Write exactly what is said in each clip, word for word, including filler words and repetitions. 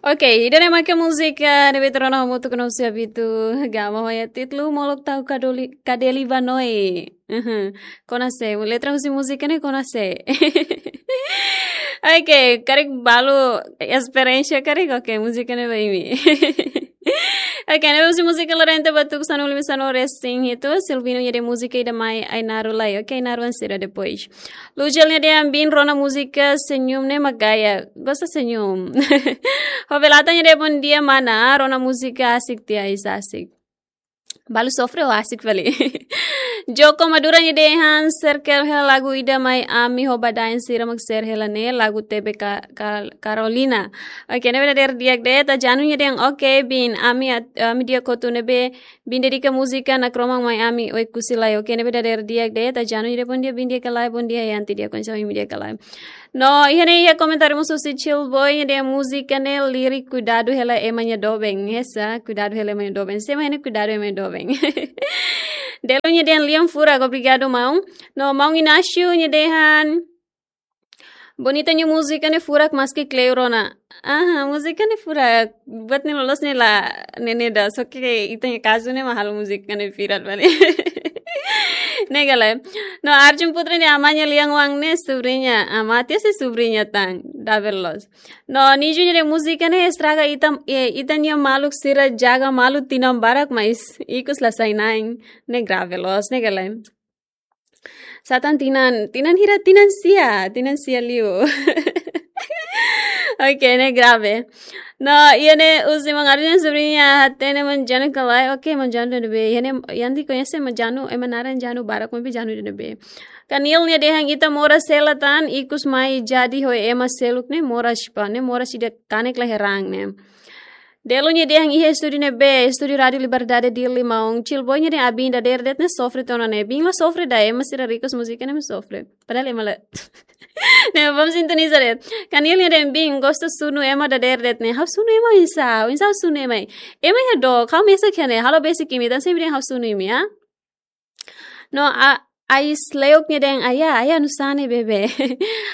Ok, ida-ne'e mak múzika ne'ebé ita rona hamutuk ho ita-nia habitu Gama, ho títulu Molok Tahu Kadoli-, Kadeli Banoi. Uhum. Kona sé, letra husi múzika ne'e kona sé. Ok, karik balu esperiénsia karik, ok, múzika ne'e ba imi. Ok, ne'e husi múzika Lorenta Batuku sanulu-resin-hitu, Silvino nia dehan múzika ida mai Ainaro lai. Ok, Ainaro ansira depois. Lujel nia dehan bin rona múzika senyum ne'e mak gaya. Gosta senyum. Hovelata nia dehan bom dia mana, rona múzika asik tiha, is asik. Balu sofre ou asik fali. Joko Madura nia dehan Serkel hela lagu ida mai ami ho badaen sira mak share hela ne'e lagu T B Ka-, Ka-, Carolina. Ok, ne'ebé dadeer di'ak de'it. Tajanu nia dehan ok bin ami at-, ami di'ak hotu ne'ebé bin dedika múzika Nakroman mai ami Oekusi lai. Ok, ne'ebé dadeer di'ak de'it. Tajanu nia dehan bom dia bin di'ak ka lae, bom dia Yanti di'ak, konsa imi di'ak ka lae. No, iha ne'e iha komentáriu mós husi Chill Boy nia dehan múzika ne'e lirik kuidadu hela ema nia doben. Hanesan kuidadu hela ema nia doben. Sé mak ne'e kuidadu ema nia doben. Delu nia dehan lian furak, obrigadu maun. No, maun Inácio nia dehan bonita nia múzika ne'e furak maski kleur ona. Aha, múzika ne'e furak. Buat ne'e loloos ne'e la, ne'e, ne'e ida. Só ke ita-nia kazu ne'e mak halo múzika ne'e viral fali. Ne'e ka lae. No, Arjun Putra nia dehan amá nia lian-oan ne'e sobriña. Amá tiha sei sobriña tan. Double loss. No, Niju nia dehan múzika ne'e estraga ita, eh, ita-nia maluk sira jaga malu tinan barak mais ikus la sai na'in. Ne'e grave loos, ne'e ka lae. Sá tan tinan, tinan hira, tinan sia, tinan sia liu. Ok, ne'e grave. No, iha ne'e husi maun Arjun nia sobriña hatene maun Janu ka lae. Ok, maun Janu ida ne'ebé. Iha ne'e, Yanti koñese maun Janu, ema naran Janu barak, maibé Janu ida ne'ebé. Kanil nia dehan ita moras hela tan, ikus mai jadi ho ema seluk ne'e moras pa, ne'e moras ida kanek la heran ne'e. Delu nia dehan iha estúdiu ne'ebé, Estúdiu Rádiu Liberdade Dili maun. Chill Boy nia dehan bin dadeer de'it ne'e sofre tiha ona ne'e. Bin la sofre ida, ema sira request múzika ne'e mak sofre. Padahal ema la. Ne'e, vamos sintoniza de'it. Kanil nia dehan bin gosta sunu ema dadeer de'it ne'e. Ha'u sunu ema oinsá, oinsá ha'u sunu ema. Ema iha dook, ha'u mesak iha ne'e, halo besik imi, tan sé imi dehan ha'u sunu imi, ah? No, a, Ais Leuk nia dehan, aya, aya, nusá ne'e bebé.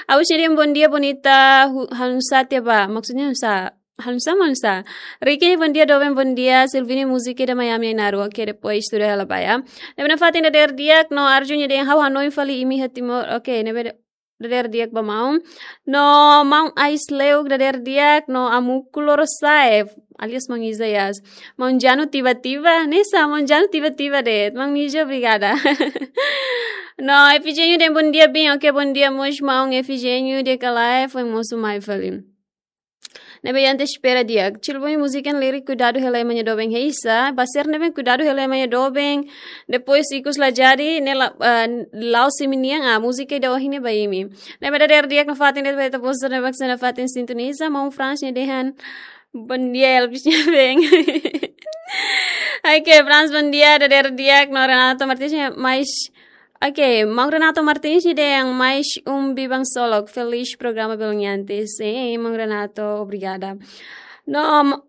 Aus nia dehan bom dia bonita, hu-, halo nusá tiha ba, maksudnya nusá, halo nusá, halo nusá. Ricky nia bom dia, doben bom dia, Silvini múzika ida mai ami Ainaro, ok, depois tuda hela ba ya. Ne'ebé nafatin dadeer di'ak, no Arjun nia dehan ha'u hanoin fali imi iha Timor, ok, ne'ebé dadeer di'ak ba maun. No maun Ais Leuk dadeer di'ak, no Amuku Loro Saef, alias maun Isaias. Maun Janu tiba-tiba, hanesan maun Janu tiba-tiba de'it, maun Niju obrigada. No Efigênio dehan bom dia bin, ok, bom dia mós maun Efigênio, di'ak ka lae, foin mosu mai fali. Ne'ebé Yanti espera di'ak. Chill Boy múzika ne'e lirik kuidadu hela ema nia doben, hanesan. Ba sira ne'ebé kuidadu hela ema nia doben. Depois ikus la jadi, ne'e la, ah, la'ós imi-nian, ah, múzika ida ohin ne'e ba imi. Ne'ebé dadeer di'ak nafatin de'it ba ita-boot sira ne'ebé nafatin sintoniza, maun Frans nia dehan. Bom dia, Elvis nia ben. Ok, Frans, bom dia, dadeer di'ak, no Renato Martins nia, mais Ok, maun Renato Martins nia dehan mais um Biban Solok. Feliz programa Belunyantes. Sim, maun Renato, obrigada. No, ma-,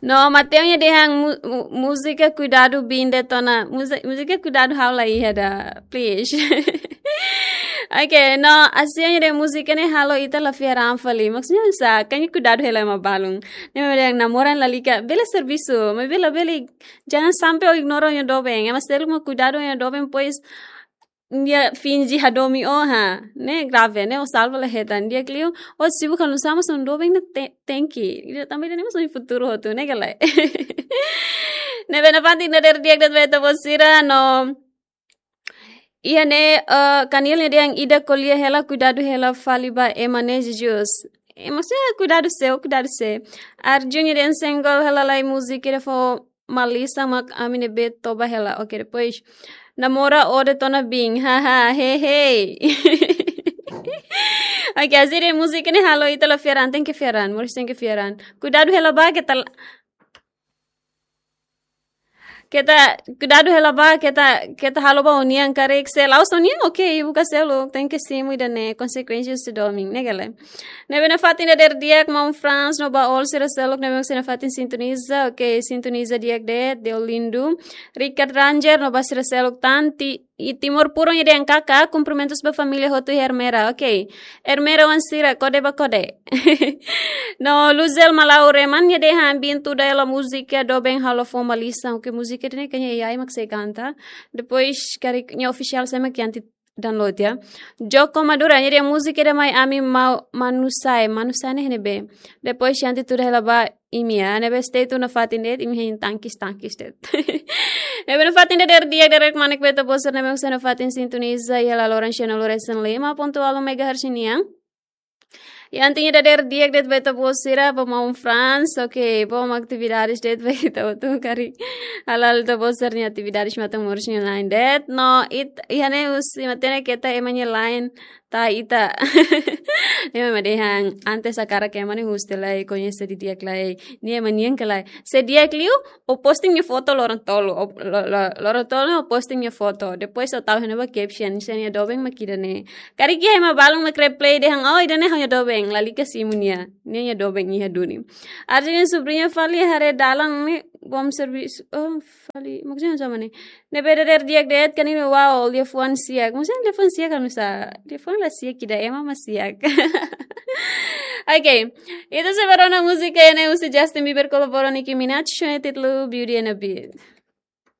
no, Mateo nia dehan mu-, mu-, múzika kuidadu bin de'it ona. Múzi-, múzika kuidadu ha'u la iha ida, please. Ok, no, Asia nia dehan múzika ne'e halo ita la fiar an fali. Maksudnya oinsá, kan kuidadu hela ema balun. Ne'e mak dehan namoran lalika, bele servisu, maibé labele Jangan sampai ó ignora ó-nia doben. Ema seluk mak kuidadu ó-nia doben, pois nia finje hadomi ó, ha. Ne'e grave, ne'e ó salva la hetan. Di'ak liu, ó sibuk halo nusá mós ó-nia doben ne'e te-, tenke. Ida tanba ida-ne'e mós ó-nia futuru hotu, ne'e ka lae. Ne'ebé nafatin dadeer di'ak de'it ba ita-boot sira, no Iha ne'e, eh, Kanil nia dehan ida ko'alia hela, kuidadu hela fali ba ema ne'e, Jesus. Eh, maksudnya kuidadu sé, kuidadu sé. Arjun nia dehan senggol hela lai múzika ida fó malisan mak ami ne'ebé toba hela. Ok, depois. Namora ó de'it ona bin. Haha, he, he. Ok, Asia dehan múzika ne'e halo ita la fiar an, tenke fiar an, moris tenke fiar an. Kuidadu hela ba keta la-, Keta, kuidadu hela ba, keta, keta halo ba ó-nian karik, se la'ós ó-nian, ok, buka seluk, tenke simu ida-ne'e, konsekuénsia husi domin, ne'e ka lae. Ne'ebé nafatin dadeer di'ak, maun Frans, no ba all sira seluk, ne'ebé nafatin sintoniza, ok, sintoniza di'ak de'it, Deolindo, Richard Ranger, no ba sira seluk tan, ti-, I Timor Puro nia dehan karik, kumprimentus ba família hotu iha Ermera. Ok. Ermera oan sira, kode ba kode. No Luzel Malau Reman nia dehan bin tuda hela múzika doben halo fó malisan. Ok, múzika ne'e kayaknya ai mak sei kanta. Depois karik nia official sé mak Yanti download ya. Joko Madura nia dehan múzika ida mai ami mau manusai. Manusai ne'e ne'ebé. Depois Yanti tuda hela ba imi ya. Ne'ebé stay tune nafatin de'it, imi hein tangkis tangkis de'it. Ne'ebé nafatin de'it, dadeer di'ak, dadeer-kmanek ba ita boot sira ne'ebé mós nafatin sintoniza iha laloran sien nulu resin lima pontu ualu megahertz nian. Yanti nia dadeer di'ak de'it ba ita boot sira, ba maun Franz, ok, bom atividades de'it ba ita hotu karik. Hala'o ita boot sira-nia atividades matan-moris nia lain de'it. No, it, iha ne'e husi matenek keta ema nia lain, ta ita. Ema mak dehan, antes hakarak ema ne'e husu lai, koñese didi'ak lai, nia ema nian ka lae. Se di'ak liu, ó posting nia foto loron tolu, ó, lo-, lo-, loron tolu ó posting nia foto. Depois ó tau iha ne'ebá caption, se nia doben mak ida-ne'e. Karik iha ema balun mak reply dehan, oh, ida-ne'e ha'u-nia doben, lalika simu nia. Nia nia doben iha duni. Arjin subriña fali haree dalan ne'e, bom servisu, oh, fali, maksudnya sama ne'e. Ne'ebé dadeer di'ak de'it, karik ne'e, wow, liafuan siak. Maksudnya liafuan siak kan bisa. Liafuan la siak, ida ema mak siak. Ok. Ita sei bá rona múzika ida ne'e husi Justin Bieber kolabora Nicki Minaj, ho títulu Beauty and a Beat.